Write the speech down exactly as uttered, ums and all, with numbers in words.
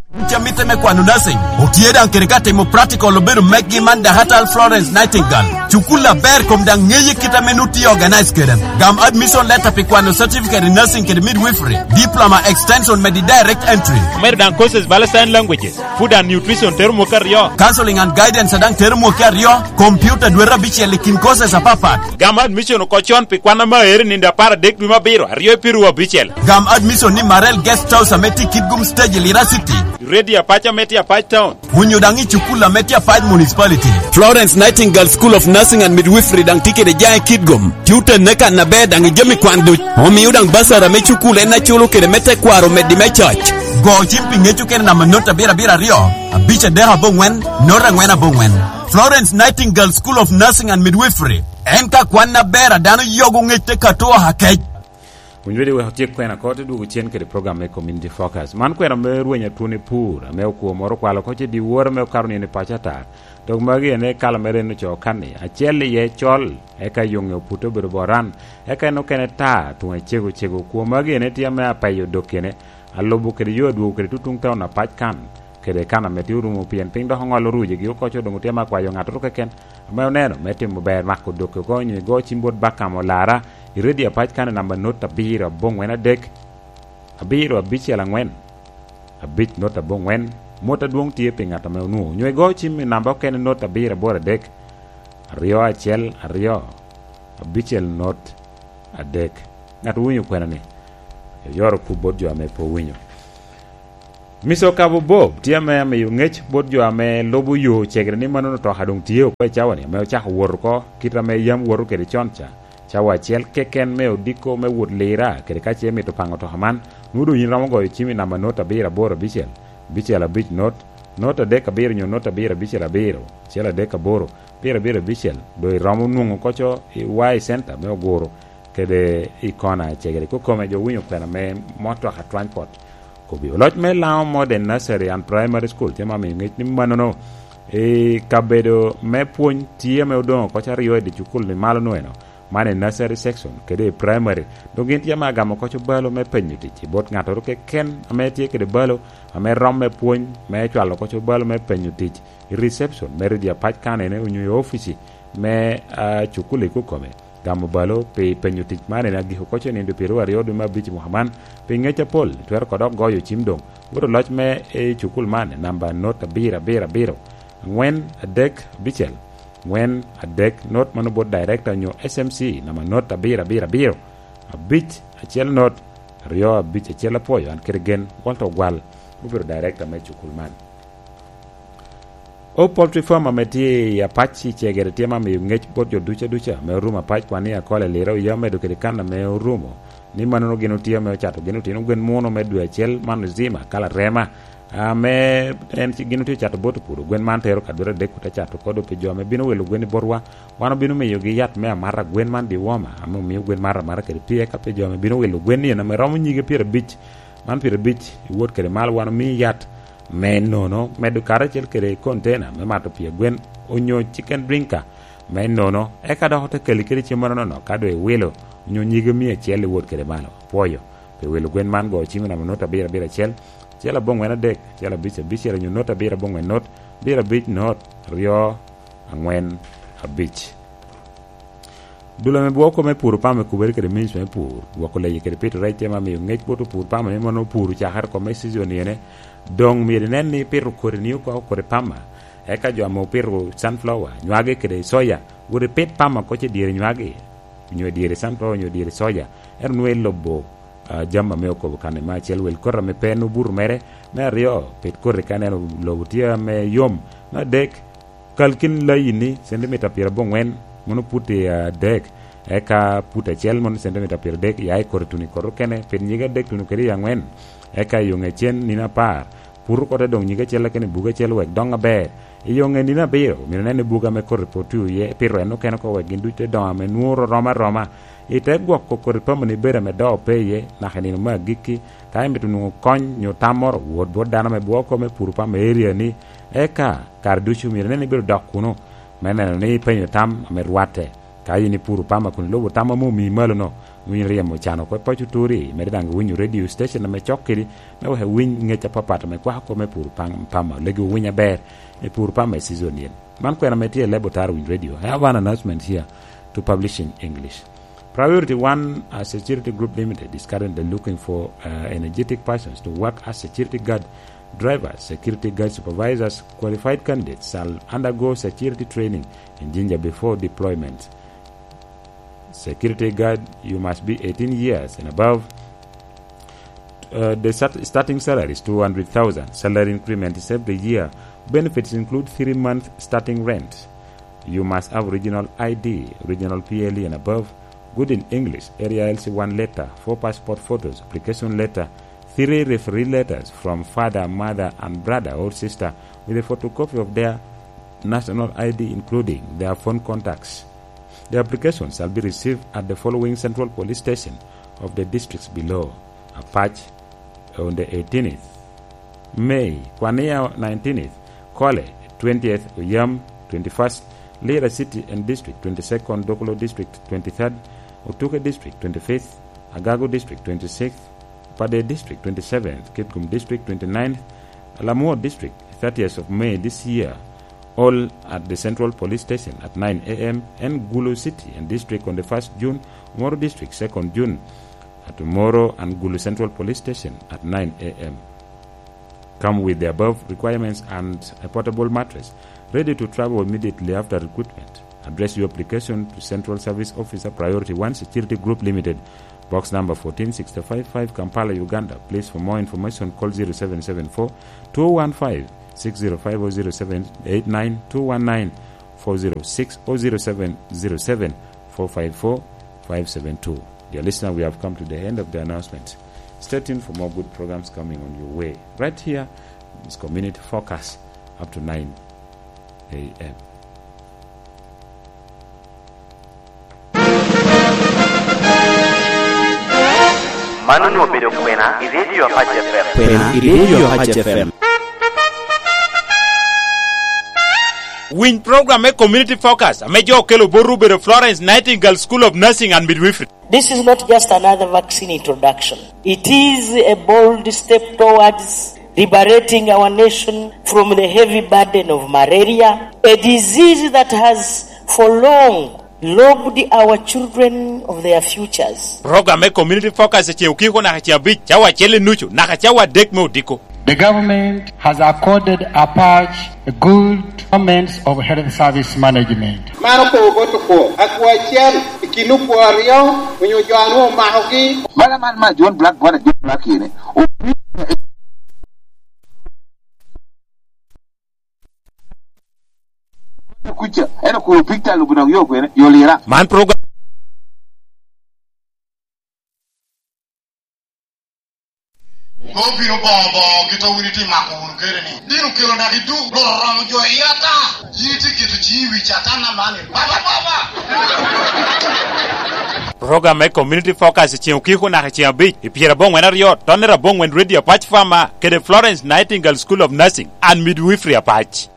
Ca mitte me kwano nursing, otye daŋ kede ka timo practical obedo mekgi man Dakatal Florence Nightingale. Cukul aber kom daŋ ŋeye kit ame nu tye organize kede. Gam admission letter pi kwano certificate in nursing kede midwifery, diploma extension me di direct entry. Omedo daŋ courses bala sign languages, food and nutrition tero mwaka aryo. Counseling and guidance daŋ tero mwaka aryo, computer dwete abicel i kin courses apapat. Gam admission oko con pi kwan ame aero i nino apar adek dwe me abiro, aryo i piru abicel. Gam admission ni Marel Guest House ame tye i Kitgum Stage i Lira City. Radio Apac ame tye Apac Town. Onyo daŋ i cukul ame tye Apac Municipality. Florence Nightingale School of Nursing and Midwifery daŋ tye kede jaŋ i Kitgum. Tye otenne kan aber daŋ i jami kwan duc. Omio daŋ basara me cukul en aculo kede me tekwaro meddi me coc. Go cim pi ŋec okene namba not abiro abiro aryo, abic adek aboŋwen, not angwen aboŋwen. Florence Nightingale School of Nursing and Midwifery. En ka kwan aber a dano yogo ŋec te kato akec. Winy wede wek otyek kwena ko, te dwogo cen kede program me Community Focus. Man kwena me rweny atwon i pur, ame okwo moro okwalo oko ce dyewor ame okato nino i paco ata. Dok magi en ekalo mere en ocoo kan-ni, acel iye col, eka yoŋe oputte obedo boran, eka en okene ta, tuŋe cego cego. Okwo magi en etye ame apeyo dokkene, alubo kede yo adwogo kede tutuŋ taun apac kan, kede kan ame tye orumo, pien piny dok oŋolo rujegi oko, co doŋ otye ame akwayo ŋattoro keken ame oneno me timo ber, mako dokke oko, onyo igo cim bot Bakam Olara, i redio apac kan i namba not abiro aboŋwen adek, abiro abicel aŋwen, abic not aboŋwen, mot adwoŋ tye pi ŋat ame onwoŋo, onyo igo cim i namba okene not abiro aboro adek, aryo acel aryo, abicel not adek. Ŋat owinyo kwena-ni, oyoro kup bot jo ame pe owinyo. Mister Okabo Bob tye ame amiyo ŋec bot jo ame lubo yo cegere ni mano otoka doŋ tye oko i cawa-ni, ame ocako wot oko kit ame yam woto kede con ca. Cawa acel keken me odiko me wot Lira, kede ka ce imito paŋo otoka man, nwoŋo doŋ yin iromo goyo cim i namba not abiro aboro abicel, abicel abic not, not adek abiro onyo not abiro abicel abiro, acel adek aboro, abiro abiro abicel, doŋ iromo nwoŋo koco i Y Center me Oguro kede i kona cegere. Kokome jo winyo kwena me motoka transport. Kobbi oloc me Laŋo Modern Nursery and Primary School tye ma miyo ŋec ni mannono i kabedo me pwony tye ame odoŋo koc aryo i dye cukul-ni malo nweno, man i nursery section kede i primary. Dok gin tye ame agamo koc obalo me penyo tic i bot ŋattoro keken ame tye kede balo ame rom me pwony me cwalo koc obalo me penyo tic i reception me redio apac kanene onyo i ofici me, ah, cukul i Kukome. Gamo balo pi penyo tic man en agiko koc i nindo pyeraryo dwe me abic i mwaka man. Pi ŋec apol, itwero kodok goyo cim doŋ. Wot oloc me i cukul man, namba not abiro abiro abiro, angwen adek abicel, angwen adek not, mano bot director onyo S M C, namba not abiro abiro abiro, abic acel not, aryo abic acel. Apwoyo, an kede gen, Walter Ogwal, obedo director me cukul man. O poultry farm ame tye i Apac i Cegere tye ma miyo ŋec bot jo duca duca ame orumo Apac kwan i Akol i Lira oya medo kede kan ame orumo, ni mannono gin otye ame ocato gin otino gwen muno me dwe acel man ozima kala rema, ame en ci-, gin otye ocato bot opuro gwen man tero ka dwe adek ote cato kodo pi jo ame bino wilo gwen i botwa. Wan obino miyogi yat me amata gwen man diwoma ame omio gwen mato amata kede pii, eka pi jo ame bino wilo gwen ni en ame romo nyige pyerabic, man pyerabic iwot kede malo, wan omii yat me nono, medo karacel kede kontena me mato pii agwen, onyo chicken drinker me nono, eka dok ote keli kede cem manono ka doŋ iwilo, onyo nyige mia acel iwot kede malo. Apwoyo pi wilo gwen man, go cim i namba not abiro abiro acel, acel abongwen adek, acel abic abicel, onyo not abiro abongwen not, abiro abic not, aryo angwen abic. Dul ame bwoko me puro pama i kubere kede minj me pur, gwoko leyi kede pito rec tye ma miyo ŋec bot opur pama ni mono opuro cakere oko me season ene. Doŋ myero inen ni ipito kodi ni oko kodi pama. Eka jo ame opito sunflower, nywage kede soya, wot ipit pama koc i dyere nywage, onyo i dyere sunflower, onyo i dyere soya. Ento nwoŋo ilubo, ah, jami ame okobo kan-ni. Me acel, wel koti ame pe en obuto mere. Me aryo, pit koti ka ineno lobo tye ame yom. Me adek, kal kin layini centimita pyerabongwen, mono put i adek, eka put acel mono centimita pyeradek, ya i koti tuno i koti okene, pit nyige adek tuno kede i angwen, eka i oŋe cen nino apar, put oko te doŋ nyige acel keken i buge acel wek doŋ aber. I oŋe nino abiro, myero inen ni buge ame koti pwod tye iye, pito en okene oko wek gin ducu te doŋ ame nwoŋo rom aroma. I te gwoko koti pamoni bedo ame doŋ pe iye, naka i nino me agikki, ka imito nwoŋo kony nyo tam moro, wot bot dano ame bwoko me puro pama i area-ni, eka kare ducu myero inen ni ibedo dok kuno, me neno ni ipenyo tam ame rwatte. Ka in ipuro pama kun ilubo tam ame omii malo-no, Winy ryemo can oko i paco turi, mede daŋ winyo radio station ame cok kedi, me wek iwiny ngec apapat ame kwako kome pur pam-, pama, legi owiny aber, i pur pama i season yen. Man kwena ame tye i Lebo Tara Winy Radio. I have an announcement here to publish in English. Priority One, a security group limited, is currently looking for, uh, energetic persons to work as security guard drivers, security guard supervisors. Qualified candidates shall undergo security training in Jinja before deployment. Security guard, you must be eighteen years and above. Uh, the start-, starting salary is two hundred thousand. Salary increment is every year. Benefits include three month starting rent. You must have original I D, original P L E and above, good in English, area L C one letter, four passport photos, application letter, three referee letters from father, mother, and brother or sister with a photocopy of their national I D, including their phone contacts. The applications shall be received at the following central police station of the districts below: Apac on the eighteenth May, Kwania nineteenth, Kole twentieth, Oyam twenty-first, Lira City and District twenty-second, Dokolo District twenty-third, Otuke District twenty-fifth, Agago District twenty-sixth, Pader District twenty-seventh, Kitgum District twenty-ninth, Lamwo District thirtieth of May this year, all at the Central Police Station at nine A M, and Gulu City and District on the first June, Moro District second June, at Moro and Gulu Central Police Station at nine A M. Come with the above requirements and a portable mattress, ready to travel immediately after recruitment. Address your application to Central Service Officer, Priority One Security Group Limited, Box number fourteen sixty-five five, Kampala, Uganda. Please, for more information, call zero seven seven four, two one five, six zero five or zero seven eight nine, two one nine, four zero six or zero seven zero seven, four five four, five seven two. Dear listener, we have come to the end of the announcement. Stay tuned for more good programs coming on your way. Right here, it's Community Focus up to nine A M. Mano onwoŋo obedo kwena i Radio Apac F M. Kwena i Radio Apac F M. Winy program me Community Focus ame jo okelo botwu obedo Florence Nightingale School of Nursing and Midwifery. This is not just another vaccine introduction. It is a bold step towards liberating our nation from the heavy burden of malaria, a disease that has for long robbed our children of their futures. Program me Community Focus eceŋ okiko naka ceŋ abic, cawa acel i nucu naka cawa adek me odiko. The government has accorded Apac a good performance of health service management. Man okobo bot okwo, akwo acel i kin okwo aryo onyo jo a nwoŋo omakogi. Mala man ma John Black, bot a John Black ene. Kuca, en okuro pig tal obino yo kwene, yo lira. Man program. Obino boŋo boŋo, gito wun itye mako wunu kede ni, bino kelo naki duk, Rwot oromo jo i ata. Yin itye keto ciŋi i wi Catan aman, baba, baba. Program me Community Focus i ceŋ okiko naka ceŋ abic, i pyerabongwen aryo, tonnere abongwen Radio Apac Farmer, kede Florence Nightingale School of Nursing and Midwifery Apac.